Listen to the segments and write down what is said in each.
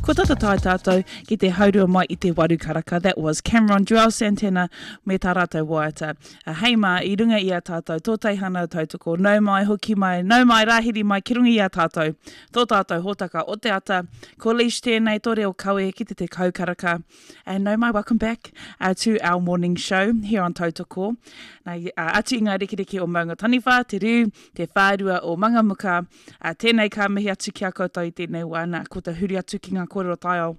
Ko tata tae tātou ki te haurua mai i te waru karaka. That was Cameron, Juelz Santana me tā rātou waiata. Uh, hei mā, i runga i a tātou, tō teihana tautoko, nau mai, hoki mai, nau mai, rāhiri mai ki runga i a tātou, tō tātou hōtaka o te ata. Ko Leish tēnei, tō reo kawe ki te 10 karaka. And nau mai, welcome back uh, to our morning show here on Tautoko. Nā, uh, atu i ngā rekereke o Maunga Taniwha, te riu, te whārua o Mangamuka, uh, tēnei ka mihi atu ki a koutou i tēnei wā, nā, ko te huri atu ki ngā kōrero taiao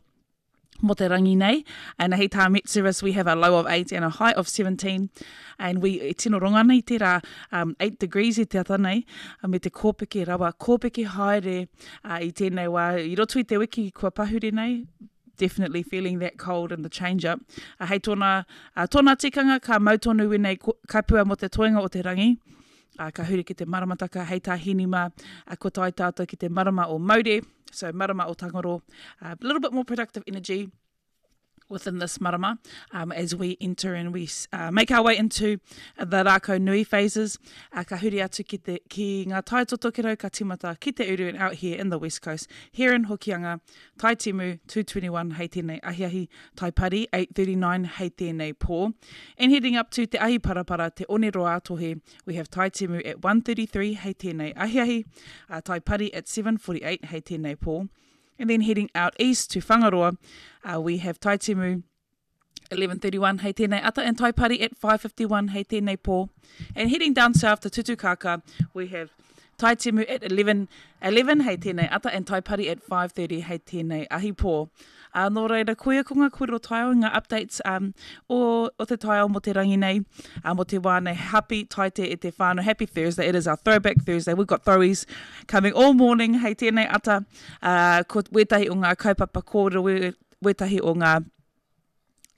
mō te rangi nei. And hei tā Met Service, we have a low of 8 and a high of 17. And we e tino ronga nei tērā um, 8 degrees i te ata nei, me te kōpeke rawa, kōpeke haere uh, i tēnei wā. I roto i te wiki kua pahure nei, definitely feeling that cold and the change up. Uh, hei tōna, uh, tōna tikanga ka mau tonu wēnei kapua mō te toenga o te rangi. Uh, ka huri ki te maramataka hei tā Hini mā, uh, ko tae tātou ki te marama o Maure, so marama o Tangaro. A uh, little bit more productive energy within this marama um, as we enter and we uh, make our way into the rākau nui phases. Uh, ka huri atu ki, te, ki ngā tai totokerau ka timata ki te uru and out here in the west coast, here in Hokianga, Tai Timu, 2.21 hei tēnei ahiahi, Tai Pari, 8.39 hei tēnei pō. And heading up to Te Ahi Parapara, Te Oneroa-a-Tohe, we have Tai Timu at 1.33 hei tēnei ahiahi, uh, Tai Pari at 7.48 hei tēnei pō. And then heading out east to Whangaroa, uh, we have Tai Timu 11.31 hei tēnei ata and Taipari at 5.51 hei tēnei pō. And heading down south to Tutukaka, we have Taitimu at 11, 11 hei tēnei ata and Taipari at 5.30 hei tēnei ahi pō. Uh, nō reira, koia ko ngā kōrero taiao, ngā updates um, o, o te taiao mō te rangi nei, uh, mō te wā nei. Happy taite e te whānau, happy Thursday. It is our throwback Thursday. We've got throwies coming all morning hei tēnei ata. Uh, ko wētahi o ngā kaupapa kōrero, wētahi o ngā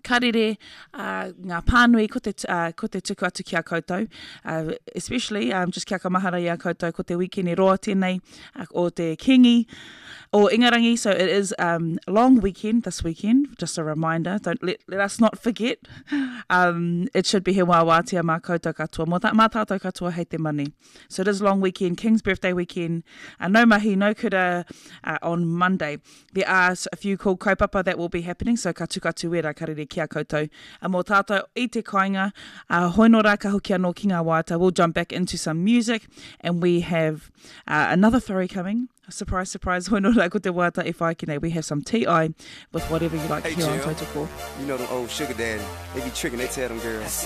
karere, uh, ngā pānui, ko te, uh, ko te tuku atu ki a koutou. Uh, especially, um, just kia ka mahara i a koutou, ko te wikene roa tēnei uh, o te Kingi o Ingarangi, so it is um, long weekend this weekend, just a reminder, don't let, let us not forget. Um, it should be he wā wātea mā koutou katoa, mō tā, mā tātou katoa hei te mani. So it is long weekend, King's birthday weekend, uh, no mahi, no kura uh, on Monday. There are a few cool kaupapa that will be happening, so ka tuku atu wērā karere ki a koutou. A mō tātou i te kāinga, uh, hoi nō rā ka hoki anō ki ngā waiata, we'll jump back into some music and we have uh, another throwy coming. Surprise, surprise, hoi nō rā ko te waiata e whai ki nei. We have some T.I. with whatever you like hey, here on Tautoko. You know them old sugar daddy, they be tricking, they tell them girls.